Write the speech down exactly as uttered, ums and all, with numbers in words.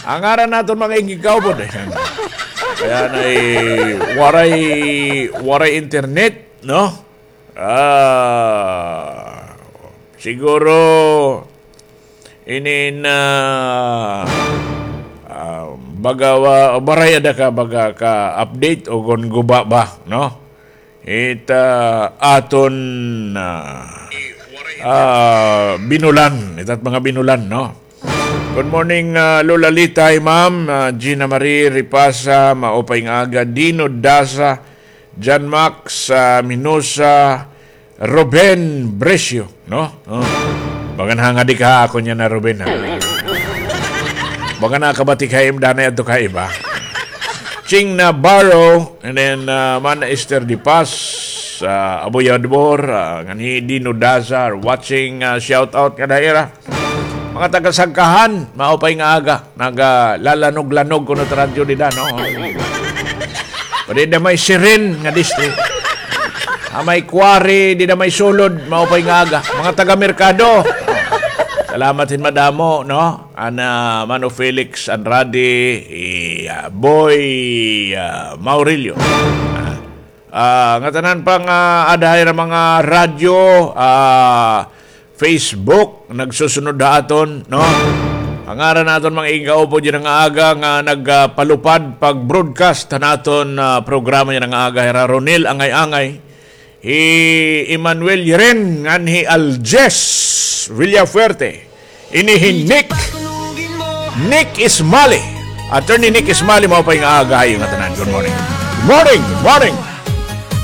Ang ngaran naton mga igkaupod, eh. Kay anay, waray, waray internet, no? Ah, siguro, inin, ah, ah, baga, wa-, waray ada ka baga ka-update o kon guba ba, no? It, ah, aton, ah, ah, binulan, itat mga binulan, no? Good morning, ah, Lola Litay, ma'am, ah, Gina Marie Ripasa, maupay nga aga, Dino Dasa, John Max, ah, Minosa, Ruben Brescio, no? Oh. Bagan hangadi ka ha ako niya na Ruben, ha? Bagan nakabati ka im danay adto ka iba. Ching Navarro, and then, ah, Mana Esther Di Paz, ah, Aboy Adbor, ah, nganhi Dino Daza, watching, ah, shout out ngada ha ira. Mga taga Sagkahan, maupay nga aga, nagalalanog-lanog kuno it radyo dida, no? Pwede da may siren nga distri. Ah, may quarry, dida may sulod, maupay nga aga. Mga taga Merkado. Salamat hin madamo, no? Ana Mano Felix Andrade, i, ah, Boy, ah, Maurilio. Ah, ah, ngatanan pa nga ada ha ira mga radyo, ah, Facebook, nagsusunod ha aton, no? Ang ngaran naton mga igkaupod yana nga aga nga nagpalupad pag-broadcast han aton, ah, programa yana nga aga, hira Ronel Angay-Angay, hi Emmanuel Yeren, ngan hi Aljes Villafuerte. Ini hi Nick, Nick Ismali. Attorney Nick Ismali, maupay nga aga ha iyo ngatanan. Good morning. Good morning, good morning.